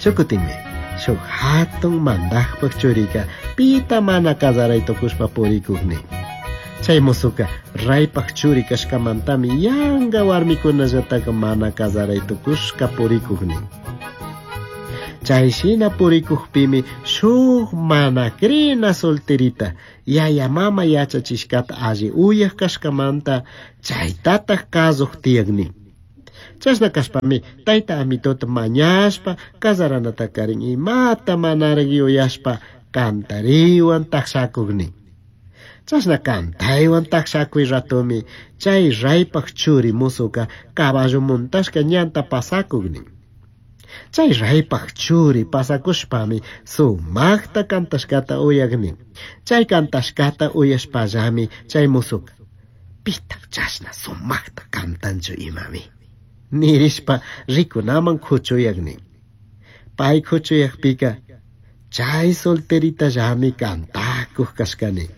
Shukutinmi shuk hatun mandaqpaq churika pita mana kazaray tukushpa purikuq nin. Chay musuka raypaq churi kashkamantami yanka warmikunallataka mana kazaray tukushka purikuq nin. Chay shina purikukpimi shuk mana crina solterita yaya mama yachachishkata alli uyaq kashkamanta chaytataq kasuq tiyak nin. Chashna kashpami tayta amitota mañashpa kazaranatakarin imata manaraq yuyashpa kantariwan taqshakuq nin. Chashna kantaywan taqshakuy ratomi chay raypaq churi musuka caballo montashka ñanta pasakuq nin. Chay raypaq churi pasakushpami sumaqta kantashkata uyak nin. Chay kantashkata uyashpallami chay musuka pitaq chashna sumaqta kantanchu imami nirishpa rikunaman kuchuyak nin. Pay kuchuyakpika chay solteritallami kantakuq kashka nin.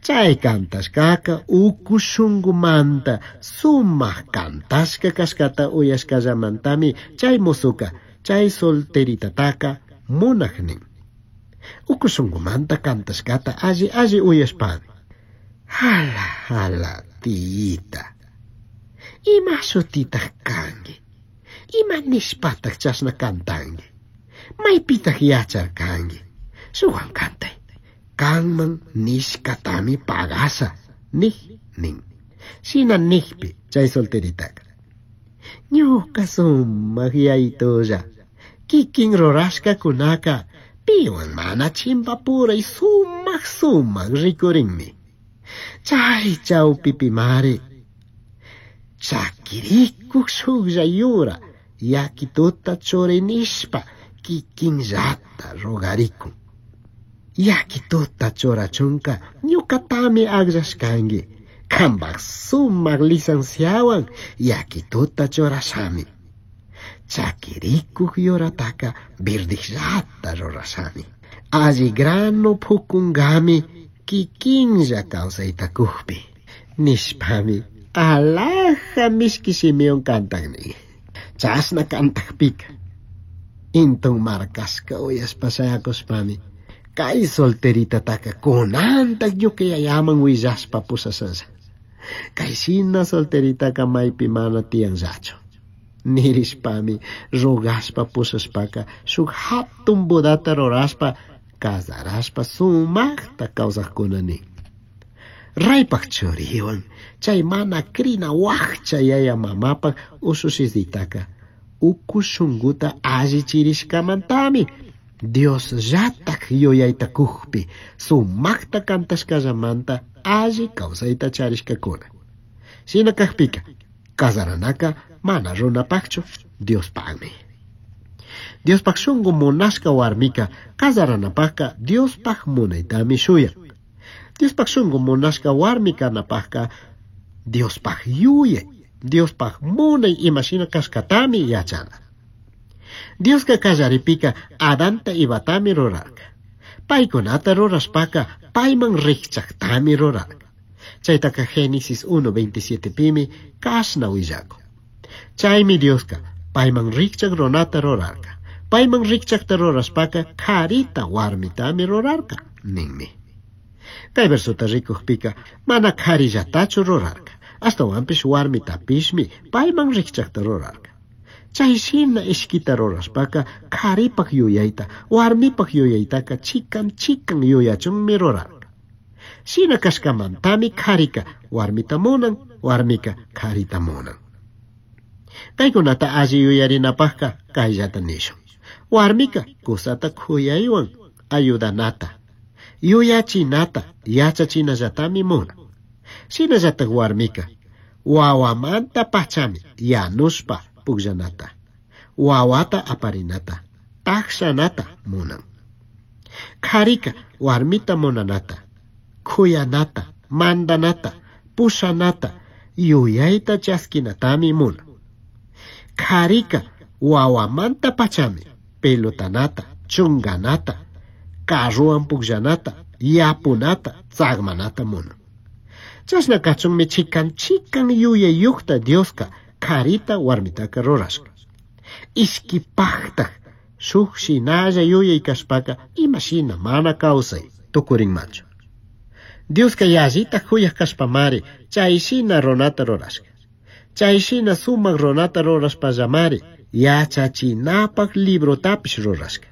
Chay kantashkaka uku shunkumanta sumaq kantashka kashkata uyashkallamantami chay musuka chay solteritataka munaq nin. Uku shunkumanta kantashkata alli alli uyashpami. Hala, hala, tiyita. Ima shutitaq kanki? Ima nishpataq chashna kantanki? Maypitaq yacharkanki? Shuwan kantay. Kanman nishkatami pagasha, nih nin. Shina nijpi chay solteritaka. Ñuka sumaq yayitulla. Kikin rurashkakunaka piwan mana chimpapuray sumaq sumaq rikurinmi. Chay chawpipimari chakirikuq shuklla yura yakituta churinishpa kikinllata rogarikun. Yakituta churachunka ñukatami akllashkanki. Kanpaq sumaq licenciawan yakituta churashami. Chakirikuq yurataka verdijllata rurashami. Alli grano pukunkami kikinlla kawsayta kukpi. Nishpami alhaja mishki shimiwan kantak nin. Chashna kantakpika intun markashka uyashpa shayakushpami kay solteritataka kunantak ñuka yayaman willashpa pushashalla. Kay shina solteritaka maypi mana tiyanllachu. Nirishpami rogashpa pushashpaka shuk hatun bodata rurashpa kazarashpa sumaqta kawsaqkuna nin. Raypaq churiwan chay mana crina wakcha yaya mamapaq ushushisitaka uku shunkuta allichirishkamantami Dios llatak yuyayta kukpi sumaqta kantashkallamanta alli kawsayta charishkakuna. Shina kakpika kazaranaka mana runapaqchu Diospaqmi. Diospaq shunku munashka warmika kazaranapaqka Diospaq munaytami shuyan. Diospaq shunku munashka warmi kanapaqka Diospaq yuyay, Diospaq munay imashina kashkatami yachana. Dioska kallaripika Adanta Evatami rurarka. Paykunata rurashpaka payman rikchaktami rurarka. Chaytaka Génesis 1.27 pimi kashna willakun. Chaymi Dioska payman rikchak runata rurarka. Payman rikchakta rurashpaka karita warmitami rurarka ninmi. Kay versota rikukpika mana karillatachu rurarka. Ashtawanpish warmitapishmi payman rikchakta rurarka. Chay shina ishkita rurashpaka karipaq yuyayta, warmipaq yuyaytaka chikan chikan yuyachunmi rurarka. Shina kashkamantami karika warmita munan, warmika karita munan. Kaykunata alli yuyarinapaqka kayllata nishun. Warmika kusata kuyaywan ayudanata, yuyachinata, yachachinallatami munan. Shinallatak warmika wawamanta pachami yanushpa pukllanata, wawata aparinata, takshanata munan. Karika warmita munanata, kuyanata, mandanata, pushanata, yuyayta chaskinatami munan. Karika wawamanta pachami pelotanata, chunganata, carruwan pukllanata, yapunata, tsakmanata munan. Chashna kachunmi chikan chikan yuyayuqta Dioska karita warmitaka rurashka. Ishkipajtaj shuk shinalla yuyay kashpaka imashina mana kawsay tukurinmanchu. Dioska yallita juyaj kashpamari chay shina runata rurashka. Chay shina sumak runata rurashpallamari yachachinapaj librotapish rurashka.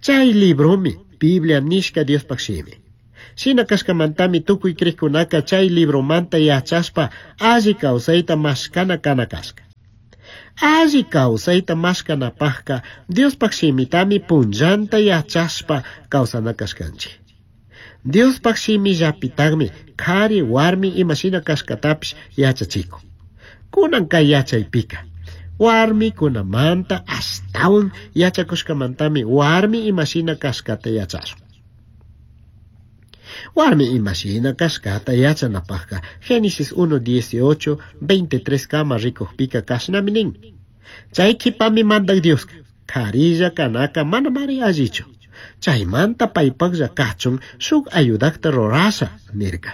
Chay libromi Biblia nishka Diospaj shimi. Shina kashkamantami tukuy krikkunaka chay libromanta yachashpa alli kawsayta mashkana kana kashka. Alli kawsayta mashkanapajka Diospaj shimitami punllanta yachashpa kawsana kashkanchik. Diospaj shimillapitaqmi kari warmi imashina kashkatapish yachachikun. Kunan kay yachaypika warmikunamanta ashtawan yachakushkamantami warmi imashina kashkata yachashun. Warmi imashina kashkata yachanapajka Génesis 1, 18, 23 kama rikujpika kashnami nin. Chay kipami mandak Dioska karilla kanaka manamari allichu. Chaymanta paypaqlla kachun shuk ayudakta rurasha nirka.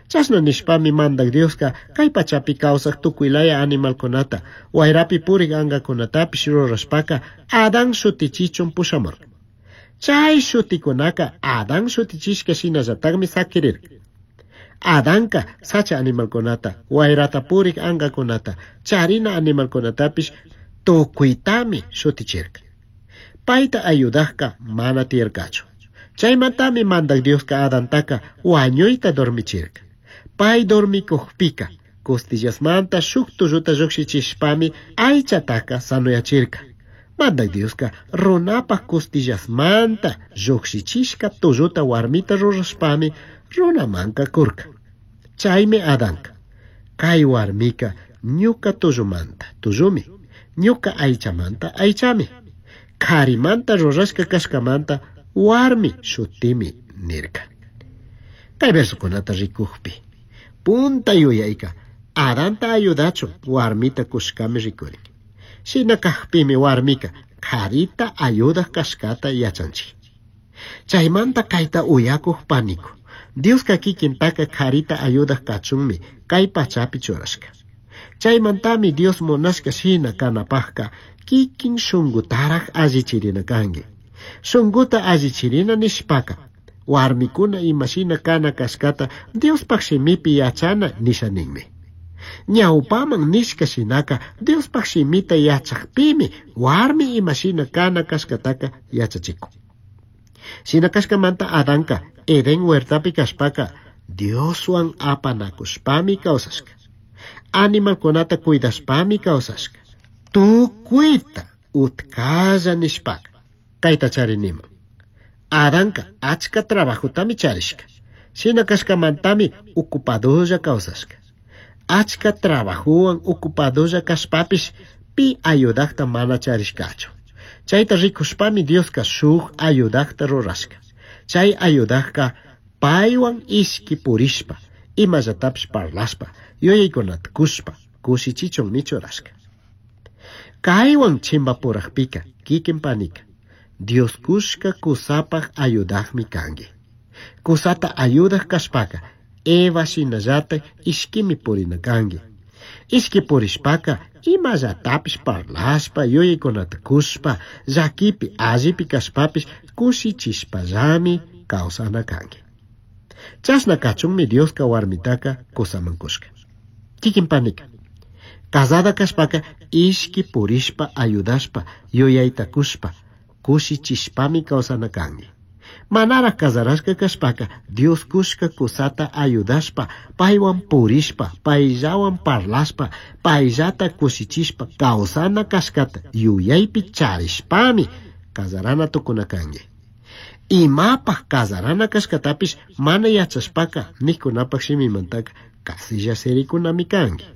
Chashna nishpami mandak Dioska kay pachapi kawsaq tukuylaya animalkunata, wayrapi purik angakunatapish rurashpaka Adán shutichichun pushamurka. Chay shutikunaka Adán shutichishka shinallataqmi sakirirka. Adanka sacha animalkunata, wayrata purik angakunata, charina animalkunatapish tukuytami shutichirka. Payta ayudajka mana tiyarkachu. Chaymantami mandak Dioska Adantaka wañuyta dormichirka. Pay dormikujpika costillasmanta shuk tulluta llukshichishpami aychataka sanuyachirka. Mandak Dioska runapaj costillasmanta llukshichishka tulluta warmita rurashpami runamanka kurka. Chaymi Adanka kay warmika ñuka tullumanta tullumi, ñuka aychamanta aychami, karimanta rurashka kashkamanta warmi shutimi nirka. Kay versokunata rikujpi punta yuyayka Adanta ayudachun warmita kushkami rikurin. Shina kajpimi warmika karita ayudak kashkata yachanchik. Chaymanta kayta uyakuj paniku. Dioska kikintaka karita ayudak kachunmi kay pachapi churashka. Chaymantami Dios munashka shina kanapajka kikin shungutaraj allichirina kanki. Shunguta allichirina nishpaka warmikuna imashina kana kashkata Diospaj shimipi yachana nisha ninmi. Ñawpaman nishka shinaka Diospaj shimita yachakpimi warmi imashina kana kashkataka yachachikun. Shina kashkamanta Adanka Edén huertapi kashpaka Dioswan apanakushpami kawsashka. Animalkunata cuidashpami kawsashka. Tukuyta utkalla nishpaka kayta chariniman. Adanka achka trabajotami charishka. Shina kashkamantami ocupadolla kawsashka. Achka trabajowan ocupadolla kashpapish pi ayudakta mana charishkachu. Chayta rikushpami Dioska shuk ayudakta rurashka. Chay ayudakka paywan ishki purishpa, imallatapish parlashpa, yuyaykunata kushpa, kushichichunmi churashka. Kaywan chimpapurajpika kikin panika, Dios kushka kusapaj ayudakmi kanki. Kusata ayudak kashpaka Eva shinallata ishkimi purina kanki. Ishki purishpaka imallatapish parlashpa, yuyaykunata kushpa, llakipi, allipi kashpapish kushichishpallami kawsana kanki. Chashna kachunmi Dioska warmitaka kusaman kushka. Kikin panika, casada kashpaka ishki purishpa ayudashpa, yuyayta kushpa, kushichishpami kawsana kanki. Manaraj casarashka kashpaka Dios kushka kusata ayudashpa, paywan purishpa, payllawan parlashpa, payllata kushichishpa kawsana kashkata yuyaypi charishpami casarana tukuna kanki. Imapaj casarana kashkatapish mana yachashpaka nijkunapaj shimimantaka kasilla sirikunami kanki.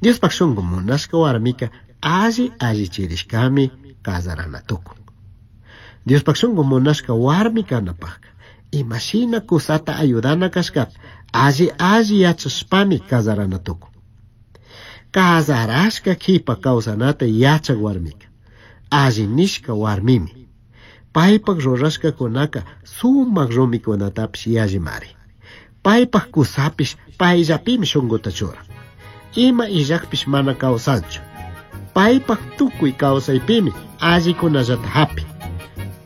Diospaj shunku munashka warmika alli allichirishkami casarana tukun. Diospaj shunku munashka warmi kanapajka imashina kusata ayudana kashkata alli alli yachashpami casarana tukun. Casarashka kipa kawsanata yachak warmika alli nishka warmimi. Paypaj rurashkakunaka sumak rumikunatapish yallimari. Paypaj kusapish payllapimi shunkuta churan. Ima illakpish mana kawsanchu. Paipaj tucui causaipimi allicunallata japin.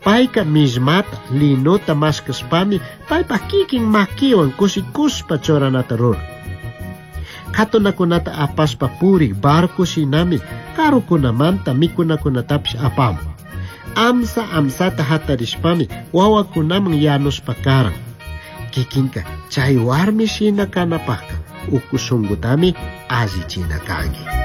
Paica millmata, linota mashkashpami paipaj kikin maquiwan kushikushpa churanata ruran. Katunakunata apashpa purik barco shinami karukunamanta mikunakunatapish apamun. Amsa amsata hatarishpami wawakunaman yanushpa karan. Kikinka chay warmi shina kanapajka uku shunkutami allichina kanki.